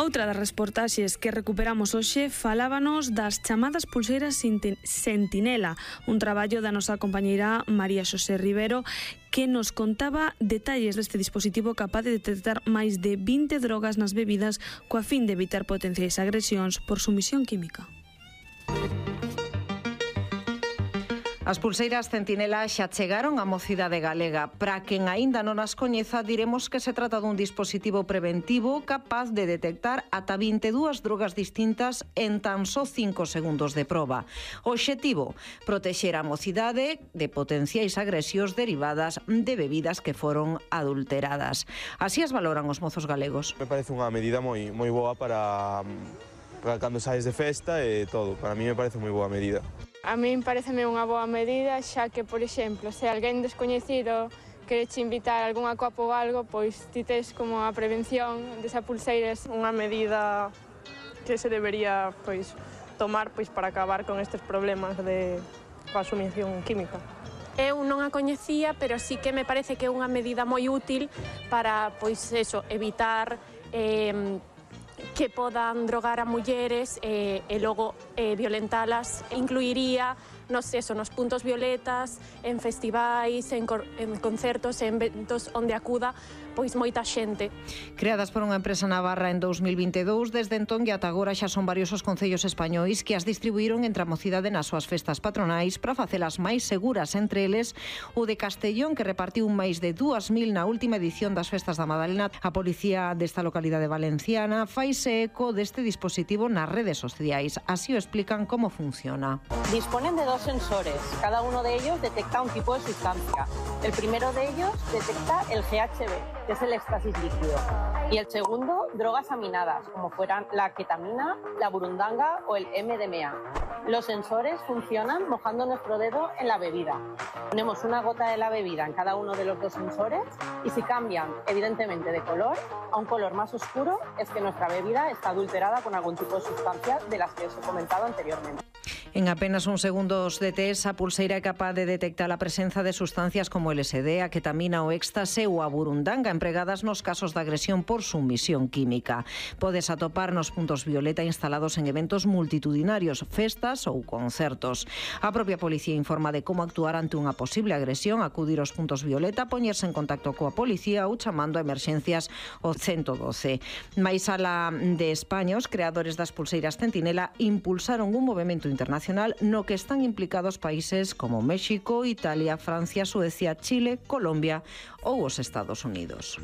Outra das reportaxes que recuperamos hoxe falábanos das chamadas pulseiras Sentinela, un traballo da nosa compañeira María Xosé Rivero, que nos contaba detalles deste dispositivo capaz de detectar máis de 20 drogas nas bebidas coa fin de evitar potenciais agresións por sumisión química. As pulseiras Sentinela xa chegaron á mocidade galega. Para quen aínda non as coñeza, diremos que se trata dun dispositivo preventivo capaz de detectar ata 22 drogas distintas en tan só 5 segundos de proba. O obxectivo, protexer a mocidade de potenciais agresións derivadas de bebidas que foron adulteradas. Así as valoran os mozos galegos. Me parece unha medida moi boa para cando saes de festa e todo. Para mí me parece moi boa medida. A min pareceme unha boa medida, xa que, por exemplo, se alguén descoñecido quereche invitar a algunha copa ou algo, pois ti tes como a prevención desa pulseira. Unha medida que se debería tomar para acabar con estes problemas de coa sumición química. Eu non a coñecía, pero sí que me parece que é unha medida moi útil para, evitar que podan drogar a mulleres e logo violentalas. Incluiría nos puntos violetas, en festivais, en concertos, en eventos onde acuda moita xente. Creadas por unha empresa navarra en 2022, desde entón e ata agora xa son varios os concellos españois que as distribuíron entre a mocidade nas súas festas patronais para facelas máis seguras, entre eles o de Castellón, que repartiu máis de 2.000 na última edición das festas da Madalena. A policía desta localidade valenciana faise eco deste dispositivo nas redes sociais. Así o explican como funciona. Disponen de 2 sensores. Cada uno de ellos detecta un tipo de sustancia. El primero de ellos detecta el GHB, que es el éxtasis líquido. Y el segundo, drogas aminadas, como fueran la ketamina, la burundanga o el MDMA. Los sensores funcionan mojando nuestro dedo en la bebida. Ponemos una gota de la bebida en cada uno de los 2 sensores y si cambian, evidentemente, de color a un color más oscuro, es que nuestra bebida está adulterada con algún tipo de sustancia de las que os he comentado anteriormente. En apenas uns segundos de test, a pulseira é capaz de detectar a presenza de sustancias como LSD, a ketamina, o éxtase ou a burundanga, empregadas nos casos de agresión por sumisión química. Podes atopar nos puntos violeta instalados en eventos multitudinarios, festas ou concertos. A propia policía informa de como actuar ante unha posible agresión, acudir aos puntos violeta, poñerse en contacto coa policía ou chamando a emerxencias o 112. Mais alá de España, os creadores das pulseiras Sentinela impulsaron un movemento internacional no que están implicados países como México, Italia, Francia, Suecia, Chile, Colombia ou os Estados Unidos.